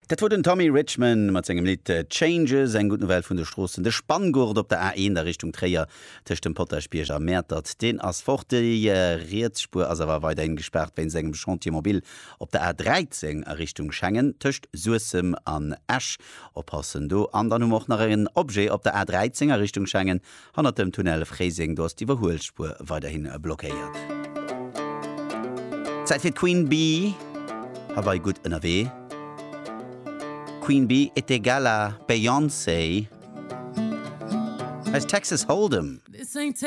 Dat wor den Tommy Richman mat sengem Lidd Changes. Eng gutt Nouvelle vun de Stroossen, De Spanngurt op der A1 a Richtung Tréier tëscht dem Potaschbierg a Mäertert, deen ass fort. Déi riets Spuer ass awer weiderhin gespaart wéinst engem Chantier mobile op der A13 a Richtung Schengen tëscht Suessem an Esch. Oppassen do. An dann hu mer och nach en Objet op der A13 a Richtung Schengen Hannert dem Tunnel Fréiseng, do ass d'Iwwerhuelspuer weiderhin blockéiert. Zäit fir d'Queen Bee, hei gutt ënnerwee. Queen Bee est égale à Beyoncé. Hei ass Texas Hold'em.